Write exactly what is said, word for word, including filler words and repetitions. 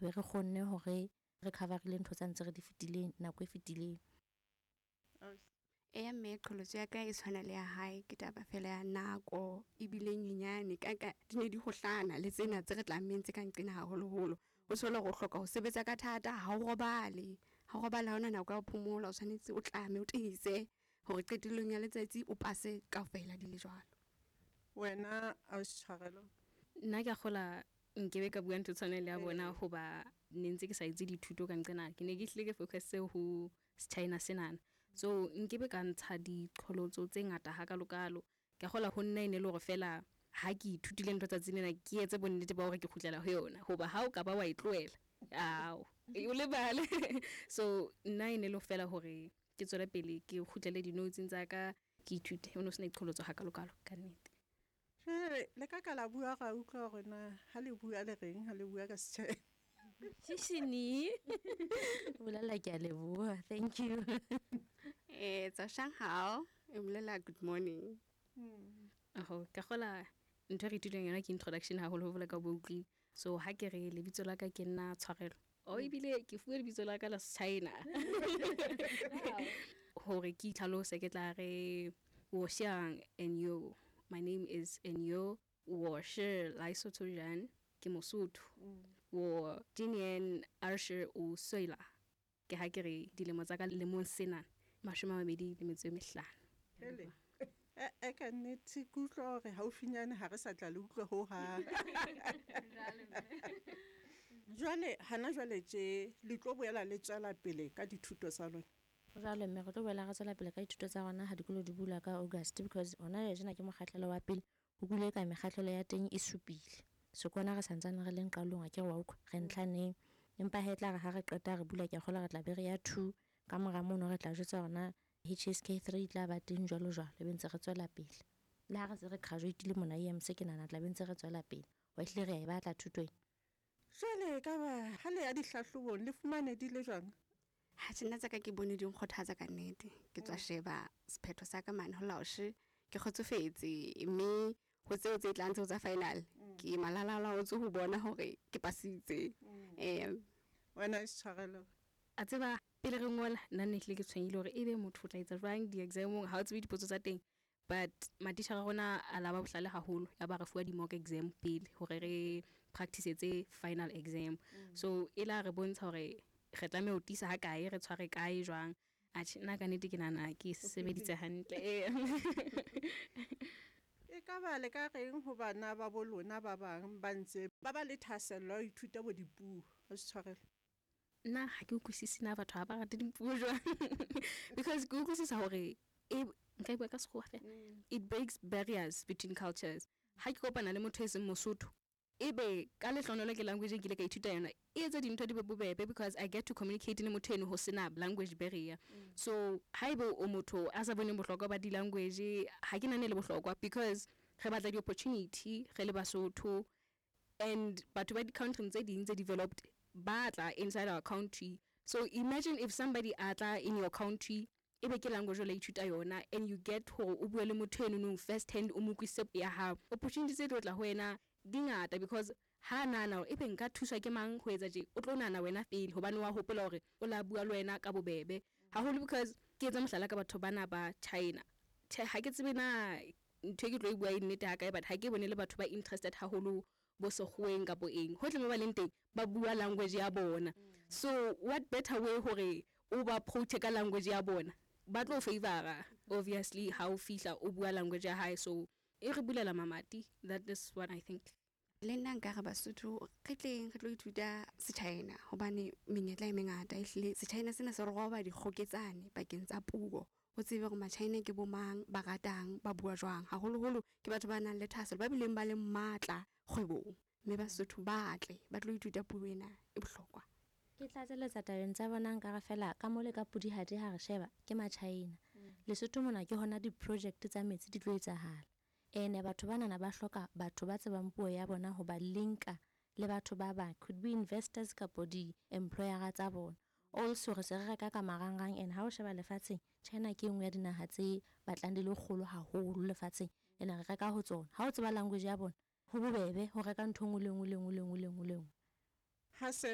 Be re kgonne hore re coverile ntho tsa ntse re di fetileng nako e fetileng. Eya mme, qholotso ya ka e tshwana le ya hae. Ke taba fela ya nako ebile nyenyane ka ka di ne di hohlana le tsena tse re tlammeng tse ka nqena haholoholo. O thole hore o hloka ho sebetsa ka thata, ha o robale. Ha o robale ha hona nako ya ho phomola, o tshwanetse o tlame o tiise hore qetellong ya letsatsi o pase kaofela di le jwalo. Wena ausi Tshwarelo? Nna ke a kgola nkebe ka bua ntho e tshwanang le ya bona hoba ne ntse ke sa etse dithuto ka nqena. Ke ne ke hlile ke focus ho China senana. So nkebe ka ntsha diqholotso tse ngata hakalokalo. Ke a kgola ho nna e ne le hore fela ha ke ithutile ntho tsatsing lena, ke etse bonnete ba hore ke kgutlela ho yona. Hoba ha o ka ba wa e tlohela, ao, o lebale. So nna e ne le fela hore ke tswele pele ke kgutlele di-notes tsa ka, ke ithute. Ho no sena diqholotso hakalokalo ka nnete. Jwale le ka ka la bua ra utlwa hore na ha le bua le reng ha le bua ka Sechina. Shishini. Bolela ke a leboha. Thank you. Eh, 早上好, e bolela good morning. Aho, ka kgola ntho e re ithutileng yona ke introduction haholo ho bolela ka bo utlwile. So ha ke re lebitso la ka ke nna Tshwarelo. O ebile ke fuwe lebitso la ka la China. Hore ke itlhalose ke tla re 我姓 Enyo. My name is Enyo. 我是莱索托人，ke Mosotho. 我今年二十五岁了。Ke ha ke re dilemo tsa ka lemong sena mashome a mabedi le metso e mehlano. Hele. E e ka nnete ke utlwa hore haufinyane ha re sa tla le utlwa hohang. Jwale hana jwale tje le tlo boela le tswela pele ka dithuto tsa lona. Jwale mme re tlo boela re tswela pele ka dithuto tsa rona ha dikolo di bula ka August, because hona jwale tjena ke mokgahlelo wa pele. Ho kule ka mekgahlelo ya teng e supile. So ke hona re santsane re leng qalong, a ke re wa utlwa re ntlhaneng. Empa he tla re ha re qeta re bula, ke a kgolwa re tla be re ya two. Ka mora mono re tla jwetsa hore na H S K three e tla ba teng jwalo jwalo, e be ntse re tswela pele. Le ha re se re graduate-ile mona I M C, ke nahana tla be ntse re tswela pele. Wa ehlile re a e batla thuto ena. Jwale ka ba ha le ya dihlahlobong le fumane di le jwang? Ha tjena tsa ka ke bone di nkgothatsa ka nnete. Ke tswa sheba sephetho sa ka mane ho laoshe, ke kgotsofetse, mme ho tseo tse tlang tseo tsa final, ke malalalaotswe ho bona hore ke pasitse. Eh, Wena Tshwarelo? A tseba pele re ngola nna ne hlile ke tshwenyehile hore ebe motho o tla etsa jwang di-exam-ong, ha o tsebe dipotso tsa teng. But matitjhere a rona a la ba bohlale haholo, ya ba re fuwa di-mock exam pele hore re practice-etse final exam. So e la re bontsha hore re tlameha ho tiisa ha kae, re tshware kae jwang. Atjhe, nna ka nnete ke nahana ke sebeditse hantle. E ka ba le ka reng ho bana ba bo lona ba bang ba ntse ba ba le thahasello ya ho ithuta bo dipuo? Ausi Tshwarelo. Nna ha ke utlwisise na batho ha ba rate dipuo jwang. Because ke utlwisisa hore e nka e bua ka sekgowa fela. It breaks barriers between cultures. Ha ke kopana le motho e seng Mosotho, ebe ka lehlohonolo ke language e nkile ka ithuta yona, e etsa dintho di be bobebe because I get to communicate le motho eno ho sena language barrier. So haebe o motho a sa boneng bohlokwa ba di-language, ha ke nahane le bohlokwa because re batla di-opportunity re le Basotho, and batho ba di-country tse ding tse developed ba tla inside our country. So imagine if somebody a tla in your country, ebe ke language o la ithuta yona, and you get hore o bue le motho eno nong first hand, o mo utlwisise ya hao. Opportunity tse tlo tla ho wena di ngata because ha nahana hore ebe nka thuswa ke mang ho etsa tje, o tlo nahana wena pele hobane wa hopola hore o la bua le wena ka bobebe. Haholo because ke etsa mohlala ka batho bana ba China. Tjhe, ha ke tsebe na ntho e ke tlo e bua e nnete ha kae, but ha ke bone le batho ba interested haholo bo sekgoweng kapo eng. Hohle mo ba leng teng ba bua language ya bona. So what better way hore o ba approach ka language ya bona? Ba tlo favor obviously ha o fihla o bua language ya hae, so e re bulela mamati. That is what I think. Le nna nka re Basotho re tleng re tlo ithuta Sechina hobane menyetla e mengata. Ehlile Sechina sena se roba dikgoketsane pakeng tsa puo. O tsebe hore Machina ke bo mang, ba ratang, ba bua jwang. Haholoholo ke batho ba nang le thahasello, ba bileng ba le matla kgwebong. Mme Basotho ba tle ba tlo ithuta puo ena e bohlokwa. Ke tlatseletsa tabeng tsa bona, nka re fela ka mole ka Pudihadi ha re sheba ke Machina. Lesotho mona ke hona di-project tsa metsi di tlo etsahala. Ene batho banana ba hloka batho ba tsebang puo ya bona ho ba linka le batho ba bang, could be investors kapo di-employer tsa bona. Also re se re reka ka marangrang, and ha o sheba lefatsheng, China ke e nngwe ya dinaha tse batlang di le kgolo haholo lefatsheng, ene re reka ho tsona. Ha o tseba language ya bona, ho bobebe ho reka ntho e nngwe le nngwe le nngwe le nngwe le nngwe le nngwe. Ha se